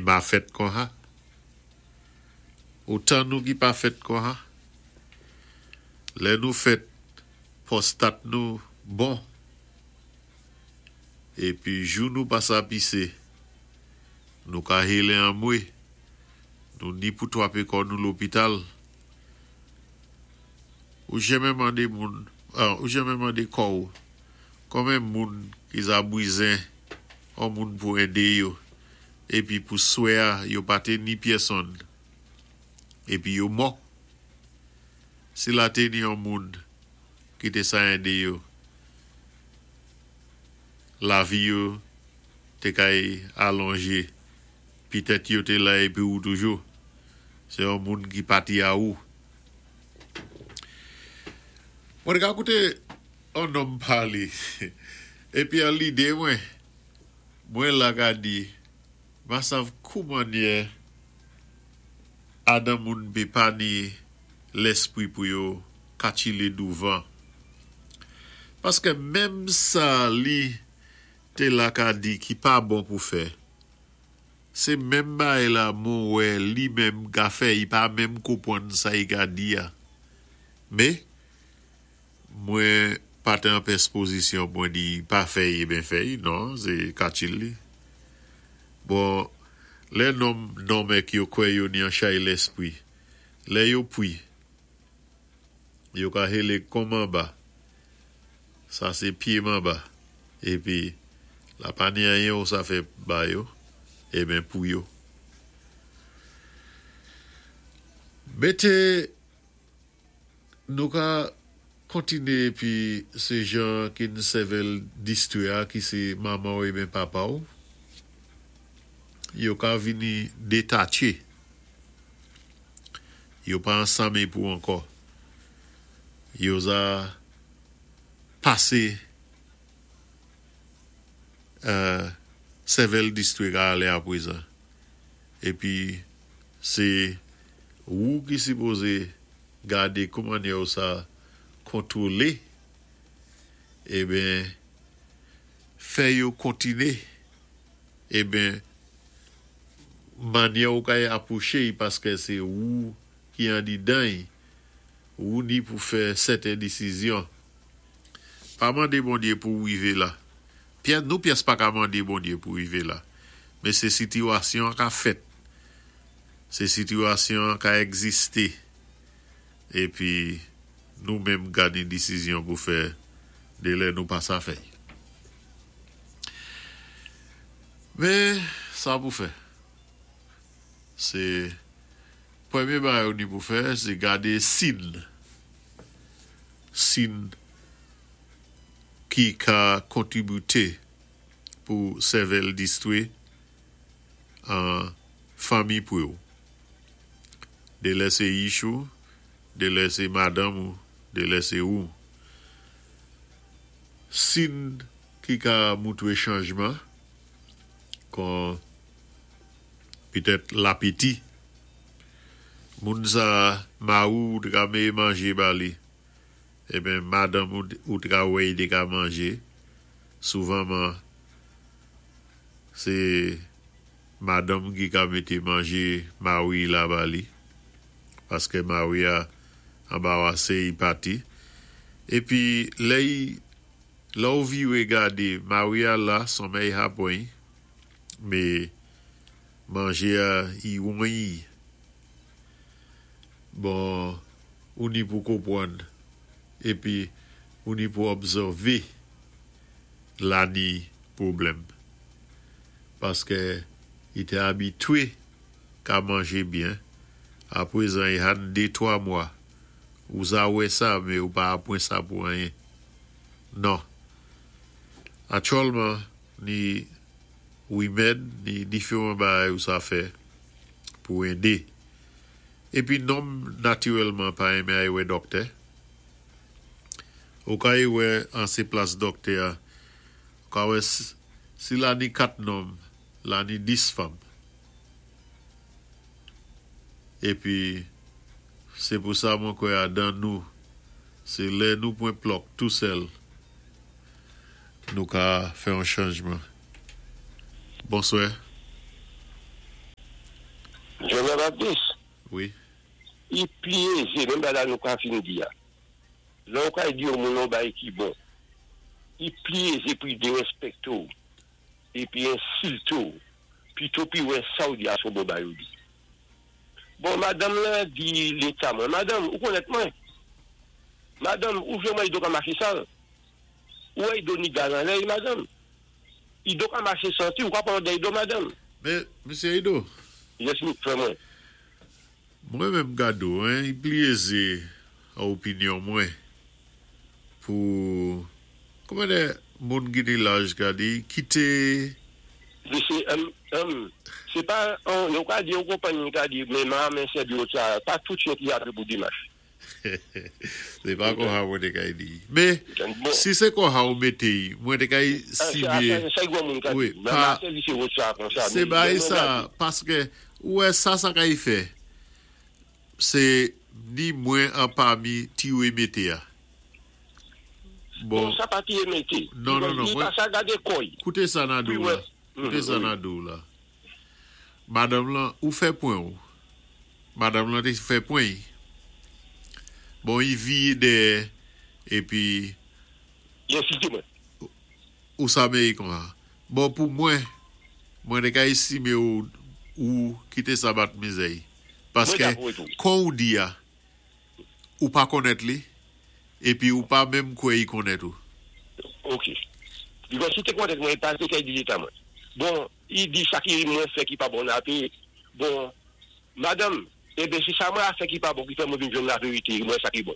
Ma fèt konsa. Otan nou ki pa fèt konsa. Lè nou fèt, pwostat nou bon. Épi jou nou pa sa pisé, nou ka hélé anmwé, nou ni pou twapé kò nou lopital. Ou jenmen mandé moun, ou jenmen mandé kò-w konmen moun ki za bwizen on moun pou édé yo, épi pou swè-a yo pa té ni pyèsonn, épi yo mò. Si la té ni on moun ki té sa édé yo, lavi yo té kay alonjé, pitèt yo té la épi ou toujou. Sé on moun ki pati a ou. Mwen té ka kouté on nonm palé, épi an lidé mwen, mwen la ka di, ma sav koumannyè adan moun pé pa ni lèspwi pou yo katchilé douvan. Paskè menm sa li té la ka di ki pa bon pou fè, sé menm baay la mwen wè li menm ka fè, i pa menm konpwann sa i ka di a. Mé, mwen pa té an pyès pozisyon pou mwen di pa fè-y eben fè-y, non, sé katchil li. Bon, lè nonm nonm èk yo kwè yo ni an chay lèspwi, lè yo pwi, yo ka hélé kon manba, sa sé pyé manba, épi la pa ni anyen ou sa fè ba yo, eben pou yo. Mété nou ka kontiné épi sé jan ki n sèvèl distwé a ki sé manman-w eben papa-w, yo ka vini détatché. Yo pa ansanm ép ou ankò. Yo za pasé sèvèl distwé ka alé apwézan. Épi sé wou ki sipozé gadé koumannyè ou sa kontwolé eben fè yo kontiné eben mannyè ou kay apwoché-y paskè sé wou ki andidan-y, wou ni pou fè sèten disizyon. Pa mandé Bondyé pou-w wivé la. Pyè, nou pyès pa ka mandé Bondyé pou wivé la. Men sé sitiwasyon an ka fèt. Sé sitiwasyon an ka egzisté. Épi nou menm ka ni disizyon pou fè de lè nou pa sa fè-y. Men sa pou fè. Se premye bagay ou ni pou fè se gade sin. Sin ki ka kontribite pou sèvèl distwe an fanmi pre ou. De lè se yich ou, de lè se madanm ou, de lè se ou. Sin ki ka moutre chanjman kon petèt lapeti. Moun sa mari w te ka meye manje ba li. Eben madanm ou ou te ka wè li te ka manje. Souvanman se madanm ki ka mete manje mari la ba li. Paske mari a anbawase i pati. Epi lè i lè w vire gade mari a la sonmèy ha pran i me manje a i won i. Bon ou ni pou konpwann épi ou ni pou obsèvé la ni pwoblèm paskè i té abitwé ka manjé byen apwézan i ha-n dé twa mwa ou za wè sa mé ou pa apwen sa pou anyen non aktyèlman ni wimèd ni diféwan bagay ou sa fè pou édé. Épi nonm natirèlman pa enmen ay wè dòktè. Ou ka ay wè an sé plas dòktè a, ou ka wè si la ni 4 nonm, la ni 10 fanm. Épi sé pou sa mwen kwè adan nou, sé lè nou pwen plòk tou sèl nou ka fè yon chanjman. Bonswè. Jèn Anbaptis, Wi. I pli ézé, menm bagay la nou ka fin di-a. Lè ou kay di yon moun yon bagay ki bon, i pli ézé pou i dérèspèkté-w épi ensilté-w pito pou i wè sa ou di-a son bon bagay ou di. Bon, madanm lan di léta mwen, Madanm, ou konnèt mwen? Madanm, ou vlé mwen i do ka maché sal? Ou wè i do ni gaz anlè i madanm? Ido ka maché santi, ou ka pran lòd dè Ido madanm? Men, Mesye Ido. Yes, frè mwen. Mwen menm gade w hein, i pli eze a opinyon mwen pou kòman de moun ki ni laj ka di kite. Mesye humm humm se pa yon yo ka di yon konpanyi ka di men ma men sèvi wot sa pa tout chyen ki jape pou demach. Se pa konsa mwen te kay di. Men si se konsa ou mete y mwen te kay sibe wi pa se bay sa paske ou wè sa sa kay fè se ni mwen anpami tiwe mete a bon non non non mwen koute sa na di w la koute sa na di w la. Madanm lan, ou fè pwen ou. Madanm lan te fè pwen y. Bon, y viye dèyè, epi. Li ensilte mwen. Ou sa meye konsa. Bon, pou mwen, mwen te ka estime ou, ou kite sa bat mizè y. Mwen Paske, dakò tou. kon ou di a, ou pa konnèt li, epi ou pa menm kwè y konnèt ou. Ok. Because si te konnèt mwen, li pa te ka di leta mwen. Bon. Li di sa ki mwen fè ki pa bon nan ape bon madanm eben se sa mwen a fè ki pa bon ki fè mwen vin jwenn laverite mwen sa ki bon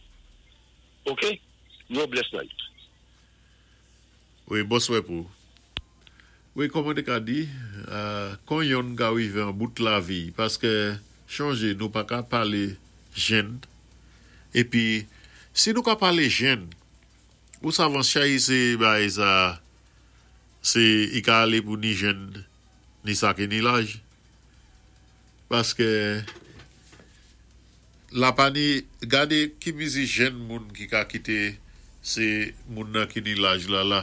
ok yon bless night. Wi bonswè pou ou. Wi kòman te ka di kon yonn ka rive an bout lavi paske chonje nou pa ka pale jenn epi si nou ka pale jenn ou savan chay se bagay sa Se i ka ale pou ni jenn ni sa ki ni laj. Paske la pa ni gade ki mizi jenn moun ki ka kite se moun nan ki ni laj la la.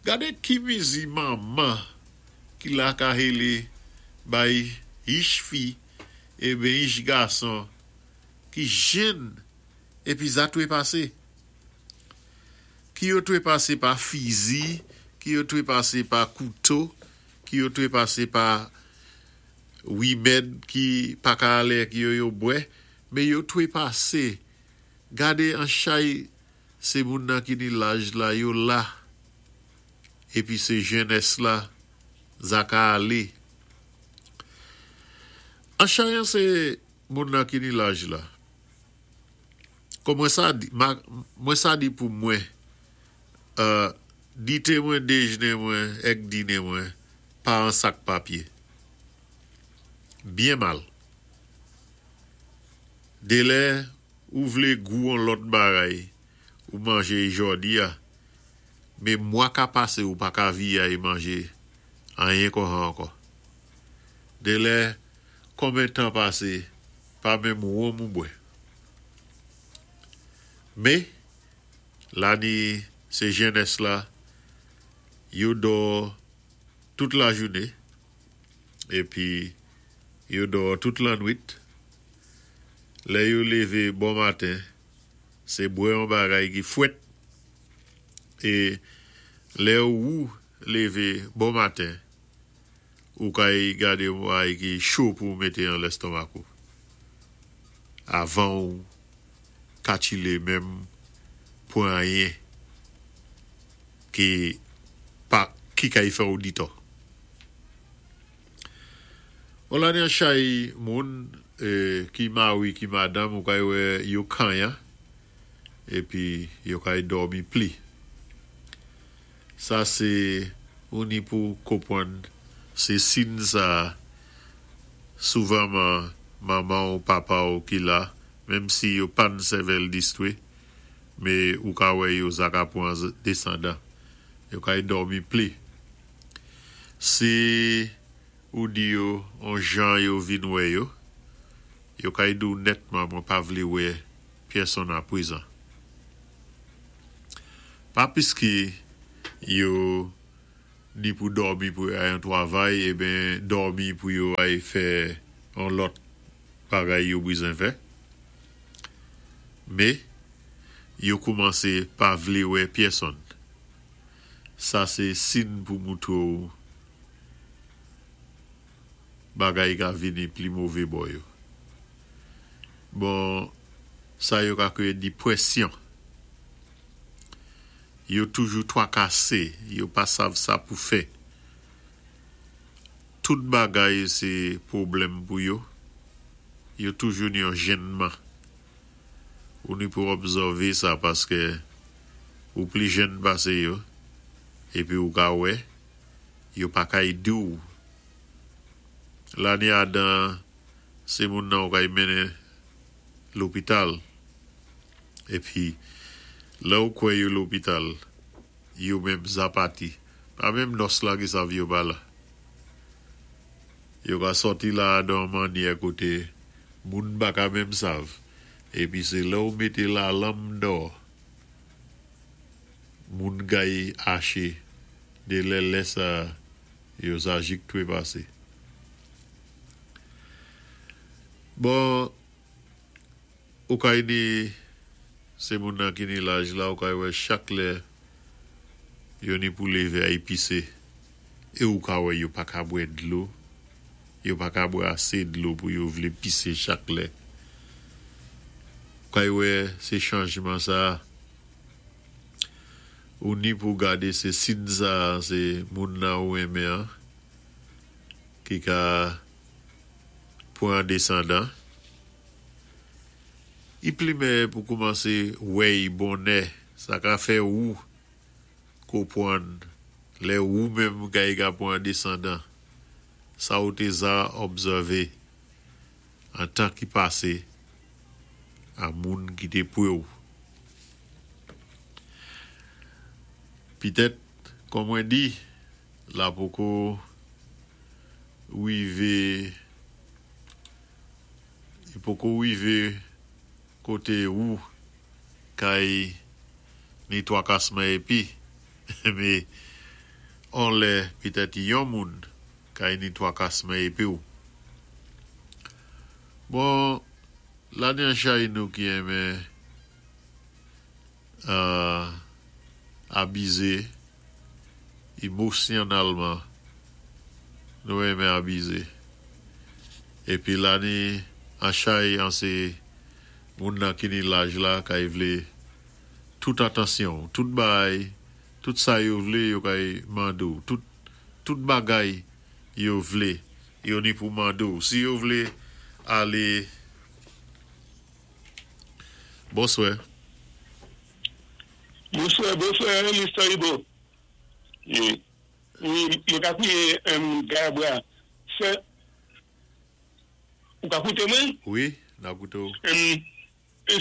Gade ki mizi manman ki la ka hele bay ich fi e ben ich gason ki jenn epi za trepase. Ki yo trepase pa fizi, ki yo trepase pa kouto, ki yo trepase pa rimèd ki pa ka ale ak yo yo bwè, men yo trepase. Gade an chay se moun nan ki ni laj la yo la epi se jenès la za ka ale. An chay an se moun nan ki ni laj la. Kon mwen sa di, mwen sa di pou mwen, euh, dite mwen, dejne mwen, èk dine mwen, pa an sak papye. Byen mal. Delè ou vle gou on lòt bagay ou manje jòdi a, me mwa ka pase ou pa ka viyay manje anyen konsa ankò. Delè konben tan pase pa menm wonm ou bwè. Me, la ni se jenès la, yo dò tout lajoune, epi yo dò tout lannwit. Lè yo leve bon maten, se bwè yon bagay ki fwèt, e lè ou leve bon maten, Ou kay gade yon bagay ki cho pou ou mete an lèstonmak ou. Avan ou katchile menm pran anyen ki pa ki kay fè ou ditò. On lane an chay moun ki mari ki madanm ou kay wè yo kanyan epi yo kay dòmi pli. Sa se ou ni pou konpwann se sin sa souvanman manman w papa w ki la menm si yo pa n sèvèl distwe me ou ka wè yo zaka pwan desandan yo kay dòmi pli si ou di yo on jan yo vin wè yo yo kay di w nètman mwen pa vle wè pyèsonn aprezan. Pa piske yo ni pou dòmi pou yo ay an twavay eben dòmi pou yo ay fè. On lòt bagay yo bizen fè. Mé yo koumansé pa vlé wè pyèsonn. Sa sé sin pou moutwé-w bagay ka vini pli mové bò yo. Bon, sa yo ka kwéyé dipwèsyon. Yo toujou twakasé, yo pa sav sa pou fè. Tout bagay sé pwoblèm pou yo. Yo toujou ni yon jènman. Ou ni pou òbsèvé sa paské ou pli jèn pasé yo épi ou ka wè yo pa kay di-w. La ni adan sé moun nan ou kay mennen lopital épi lè ou kwè yo lopital yo menm za pati. Pa menm nòs la ki sav yo pa la. Yo ka sòti la dan yon mannyè koté moun pa ka menm sav. Épi sé lè ou mété lalanm dò moun kay aché de lè lè sa yo sa jik twépasé. Bon ou kay ni sé moun nan ki ni laj la ou kay wè chak lè yo ni pou lévé ay pisé é ou ka wè yo pa ka bwè dlo, yo pa ka bwè asé dlo pou yo vlé pisé chak lè. Ou kay wè sé chanjman sa ou ni pou gadé sé sin sa sé moun nan ou renmen an ki ka pwan desandan. I pli mèyè pou koumansé wèy bonnè sa ka fè ou konpwann lè ou menm kay ka pwan desandan sa ou té za òbsèvé an tan ki pasé a moun ki té pwé-w. Pitèt kon mwen di la poko wivé i poko wivé koté ou kay ni twakasman épi mé on lè pitèt yon moun kay ni twakasman épi-w. Bon la ni an chay nou ki renmen abizé émosyonnalman nou renmen abizé épi la ni an chay an sé moun nan ki ni laj la kay vlé tout atansyon-w tout bagay tout sa yo vlé yo kay mande-w tout tout bagay yo vlé yo ni pou mande-w si yo vlé alé Bonswè. Bonswè, bonswè Mister Ibo. Wi, mwen ka kouye Gayabra. Sè, ou ka koute mwen? Wi, n ap koute w.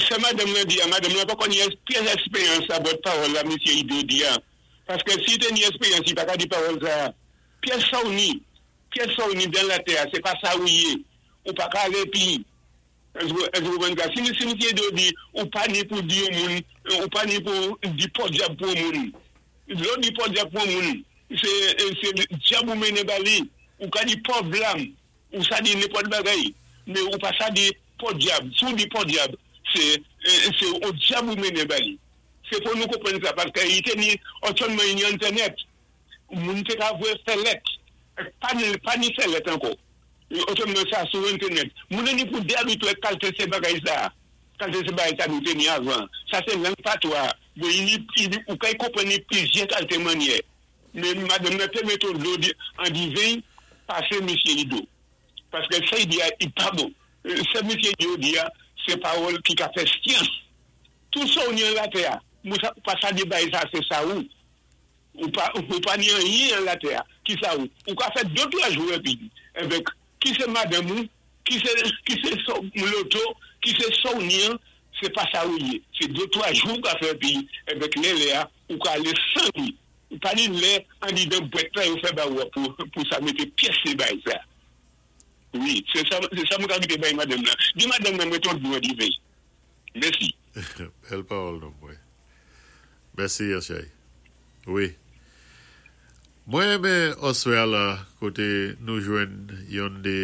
Sa madanm lan di a, madanm lan poko ni pyès èsperyans abòt pawòl la misye Ido di a. Paske si te ni èsperyans li pa ka di pawòl sa a. Pyès sa w ni, pyès sa w ni dan latè a, se pa sa ou ye. Ou pa ka ale pi. Èske ou konprann sa? Si misye Edo di ou pa ni pou di yon moun, ou pa ni pou di pòdyab pou yon moun. Lè w di pòdyab pou yon moun, se dyab ou mennen ba li. Ou ka di pòv lam, ou sa di nenpòt bagay, men ou pa sa di pòdyab. Si w di pòdyab, se yon dyab ou mennen ba li. Se fò nou konprann sa paske li te ni òtyònman ni entènèt. Moun te ka voye fè lèt. Pa ni pa ni fè lèt ankò. Otreman sa sou entenèt. Moun an ni pou de abitwe ak kalte se bagay sa. Kalte se bagay sa nou te ni avan. Sa se lang patwa. Bon i ni i ni ou kay konprann ni plizyè kalte mannyè. Men madanm nan te mete yon dlo di an diven pase misye Ido. Paske sa i di a i pa bon. Sa misye Ido di a se pawòl ki ka fè syans. Tou sa ou ni an latè a, mou sa pa sa de bay sa se sa ou. Ou pa ou pa ni anyen an latè a kisa ou ou ka fè de twa jou epi enben ki se madanm ou ki se ki se sa w loto ki se sa w ni an se pa sa ou ye se de twa jou ou ka fè epi enben lè lè a ou ka ale li ou pa ni lè andidan bwèt la yo fè ba ou a pou pou sa mete pyès se bay sa wi se sa se sa mwen ka kite bay madanm nan di madanm nan mete yon dlo an diven mèsi. Bèl pawòl nonm mwen. Mèsi Yachay. Wi. Mwen renmen oswè a la koté nou jwenn yonn de.